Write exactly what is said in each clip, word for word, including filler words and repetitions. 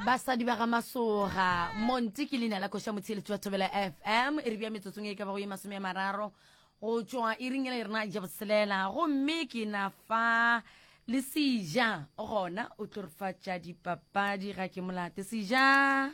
Basadi ba ga Masoga, Monti ke leina la koša motheeletši wa Thobela F M. E re bja metsotsong e ka bago ye masome a mararo go tšwa iring ela e rena ja boselela, gomme ke na fa le Seja gona o tlo re fa tša dipapadi. Ga ke molate, Seja.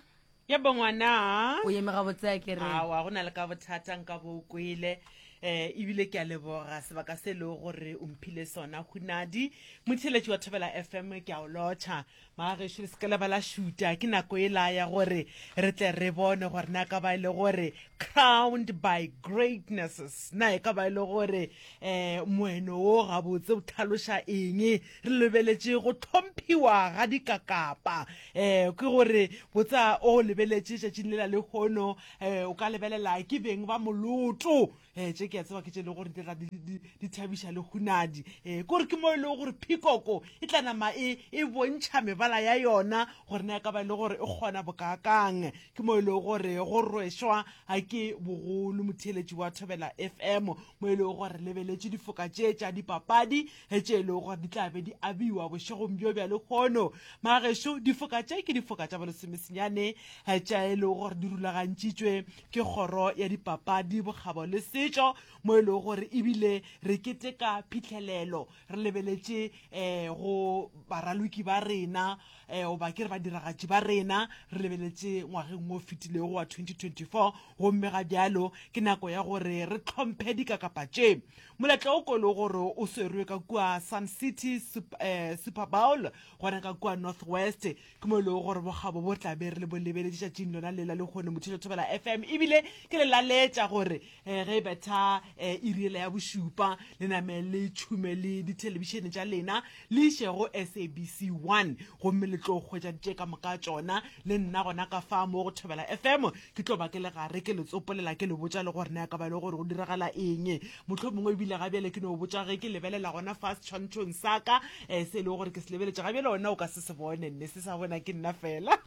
Ya bongwana. O eme gabotse a ke re? Awa, go na le ka bothata nka bo o kwele um ebile ke a leboga sebaka se e lego gore o mphile sona. Hunadi motheeletši wa Thobela F M, ke a o lotšha. Magagešo, le seke la ba la šuta, ke nako e la ya gore re tle re bone gore na ka ba e le gore crowned by greatnesses, na e ka ba e le gore um moeno wo gabotse o tlhaloša eng. Re lebeletše go tlhomphiwa ga dikakapa, um ke gore botsa o lebeletše tšatšing le la lehono, um o ka lebelela ke beng ba moloto. um tše ke a tseba ke tše e le gore di tla di thabiša le hunadi, um kore ke mo e lego gore phikoko e tla nama e e bontšha mebala ya yona gore na e ka ba e le gore e kgona bokaakang. Ke mo e lego gore go rwešwa ga ke bogolo, motheeletši wa Thobela F M, mo e lego gore lebeletše difoka tše tša dipapadi tše e lego gore di tla be di abiwa bošegong bjo bja lehono. Magešo, difoka tše ke difoka tša bolesomesenyane tša e lego gore di rulagantšitšwe ke kgoro ya dipapadi, bokgabo le setšo, mo e lego gore ebile re keteka phitlhelelo re lebeletše um go baraloki ba rena, um goba ke re badiragatši ba rena, re lebeletše ngwageng o fetilego wa twenty twenty-four. Gomme ga bjalo ke nako ya gore re tlhomphe dikakapa tše. Moletlo o ko le gore o swerwe ka kua Sun City eh, Super Bowl gona ka kua North West, ke mo e lego gore bokgabo bo tla be re le bo lebeletše tšatšing lona le la lekgone, mothuša Thobela F M. Ebile ke le laletša gore um ge e betha um iri ela ya bošupa, le name le tšhume le dithelebišene tša lena, le iše go S A B C one, gomme le tlo hwetša tše ka moka tšona. Le nna gona ka fa mo go Thobela F M ke tlo ba ke le gare ke le tsopolela, ke le botša le gore na ka ba le gore go diragala eng. Motlho mongwe ebile ga bjale ke no botša ge ke lebelela gona fa setshwantšhong sa ka um se e lego gore ke se lebeletše ga bjale, ona o ka se se bone, nne se sa bona ke nna fela,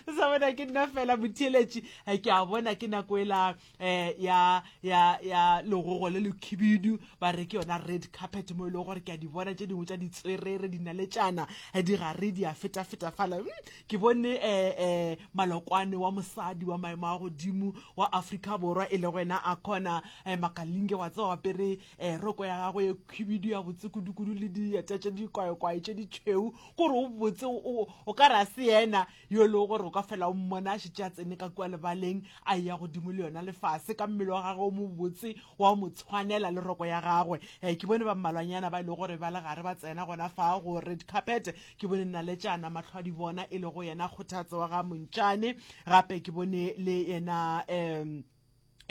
se sa bona ke nna fela. Motheeletši, ke a bona ke nako ela um ya ya ya legogo le lekhibidu, ba re ke yona red carpet, mo e leng gore ke a di bona tše dingwe tša ditswerere dinaletšana di gare di a fetafeta fala. Ke bone um um malokwane wa mosadi wa maemo a godimo wa Afrika Borwa, e le go ena a kgona um Makalinge wa tseba, apere um roko ya gagwe ye khibidu ya botse kudukudu le dieta tše dikwaikwai tše ditšhweu, kore o botse o ka re a se yena yo e lego gore o ka fela o mmona a šetše a tsene ka kua lebaleng, a ya godimo le yona lefase ka mmele wa gagwe o mobotse wa mo tshwanela le roko ya gagwe. um ke bone ba mmalwanyana ba e lego gore ba le gare ba tsena gona fa go red carpet. Ke bone naletšana mahlo a di bona, e lego yena Kgothatso wa ga Montšane. Gape ke bone le yena um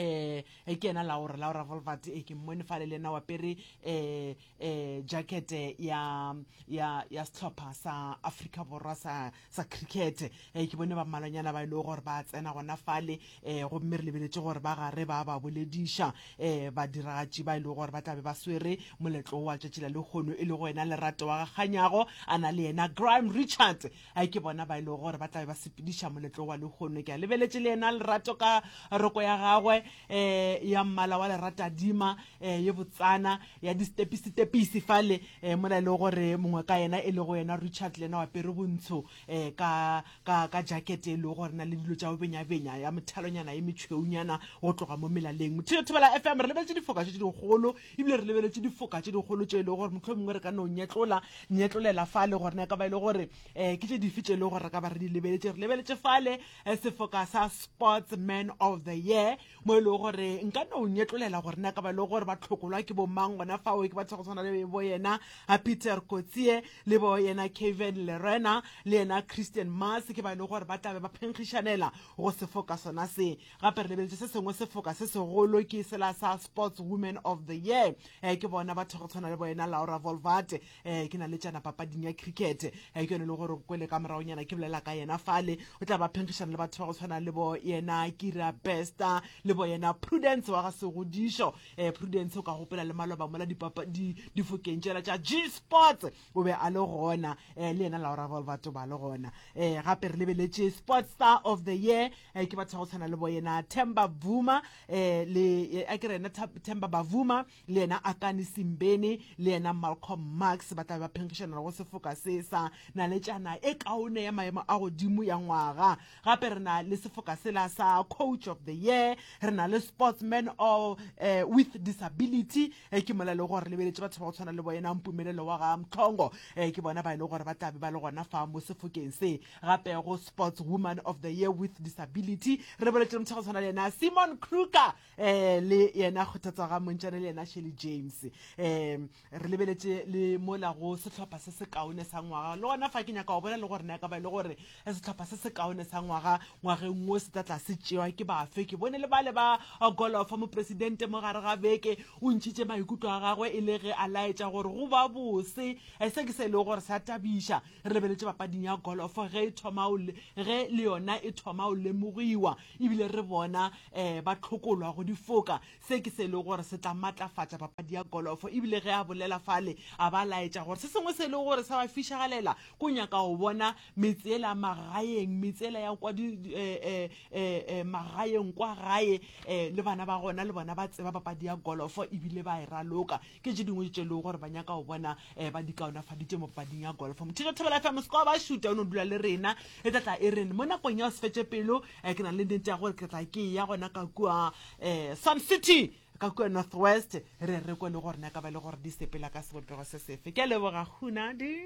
eh ke yena Laura Laura Wolvaardt, e ke mmone fale le yena wa pere eh eh jacket ya ya ya sehlopha sa Afrika Borwa sa sa cricket. eh ke bone ba mmalwanyana ba ile e gore ba tsena gona fale, eh gomme re lebeletše gore ba gare ba ba bolediša eh badiragatši ba ile e gore ba tlabe ba swere moletlo wa tšatši la lehono, e le go yena Lerato wa Gaganyago a na le yena Graham Richards. A ke bona ba ile e gore ba tlabe ba sepediša moletlo wa lehono. Ke a lebeletše le yena Lerato ka roko ya gagwe eh ya mmala wa leratadima, eh ye botsana ya di-stepisi-stepisi fale, eh mola e le gore mongwe ka yena, e le go yena Richard, le yena wa pere bontsho eh ka ka ka jacket e le gore na le dilo tša go benya-benya ya methalonyana ye metšhweunyana go tloga mo melaleng. Motho Thobela F M, re lebeletše difoka tše dikgolo, ebile re lebeletše difoka tše dikgolo tše e le gore motlho mongwe re ka no nyetlola nyetlolela fale gore na ka ba e le gore um ke tše dife tše e le gore re ka ba re di lebeletše. Re lebeletše fale sefoka sa Sportsman of the Year, mo e lego gore nka no nyetlolela gore na ka ba e le gore ba tlhokolwa ke bomang gona fao. Ke batho go tshwana le bo yena Peter Kotsie le bo yena Kevin Lerena le yena Christian Mars, ke ba e le gore ba tlabe ba phenkgišanela go sefoka sona se. Gape re lebeletše se sengwe sefoka se segolo, ke sela sa Sports Women of the Year. um ke bona batho go tshwana le bo yena Laura Wolvaardt, um ke na le tšana papading ya cricket, um ke yone e le gore kwele ka moragonyana ke bolela ka yena fale. O tla ba phenkgišana le batho ba go tshwana le bo yena Kira Bester le bo boyena Prudence wa ga Segodišo. um Prudence o ka gopola le maloba mola difokeng tšela tša G Sports o be a le gona, um le yena Laura Wolvaardt o ba le gona. um Gape re lebeletše Sports Star of the Year, um ke batho ba go tshwana le boyena Themba Bvuma, um le a ke re yena Themba Bavuma, le yena Akani Simbeni, le yena Malcolm Marx, ba tla be ba phenkgišana go sefoka se sa naletšana e kaone ya maemo a godimo ya ngwaga. Gape re na le sefoka sela sa Coach of the Year, re na le Sportsman of, uh, with Disability, eh, ke mola e le gore lebeletše batho ba go tshwana le boyena Mpumelelo wa ga Mtlhongo, eh, ke bona ba e le gore ba tla be ba le gona fa mo sefokeng se. Gape go Sports Woman of the Year with Disability re lebeletše le motho go tshwana le yena Simon Kruger, eh, le yena Kgothatsa ga Montšane, le yena Shelly James. um Re lebeletše le mola go sehlopha se se kaone sa ngwaga, le gona fa ke nyaka go bona le gore na ka ba e le gore sehlopha se se kaone sa ngwaga ngwageng wo se tla tla se tšewa ke bafe. Ke bone le bale ba golofa, mopresidente mo gare ga beke o ntšhitše maikutlo a gagwe e le ge a laetša gore go ba bose, se ke se e lego gore sa tabiša. Re lebeletše papading ya golofo ge e thoma, ge le yona e thoma o lemogiwa ebile re bona um ba tlhokolwa go difoka, se ke se e lego gore se tla matlafatša papadi ya golofo. Ebile ge a bolela fale a ba laetša gore se sengwe se e lego gore sa ba fišagalela ko nyaka go bona metse ela magaeng, metse ela ya kwa magaeng kwa gae, um le bana ba gona le bona ba tseba papadi ya golofo ebile ba e raloka. Ke tše dingwe tše lego gore ba nyaka go bona um ba di kaonafaditše mo papading ya golofo. Mothetša Thobela F M se kwa ba šuta o no dula le rena, e tla tla e reng mo nakong ya go se fetše pelo. um Ke na le nnete ya gore ke tla ke ya gona ka kua um Sun City ka kua North West, re re kwe le gore na ka ba le gore di sepela ka sebopego se sefe. Ke a leboga Hunadi.